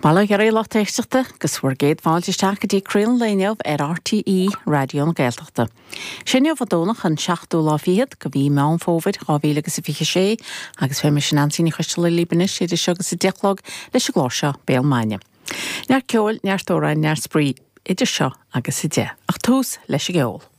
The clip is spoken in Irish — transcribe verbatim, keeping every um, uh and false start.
Bail ó Dhia oraibh a lucht éisteachta agus bhur gcéad fáilte isteach go dtí Craoladh an Lae inniu ar RTÉ Raidió na Gaeltachta. Sé inniu an Domhnach an seachtú lá fichead de mhí Meán Fómhair dhá mhíle agus a fiche sé agus beidh mise Neansaí Ní Choisteala libh anois idir seo agus a deich a chlog leis an gclár seo Béal Maidine. Neart ceoil, neart amhráin, neart spraoi idir seo agus a deich. Ach tús leis an gceol.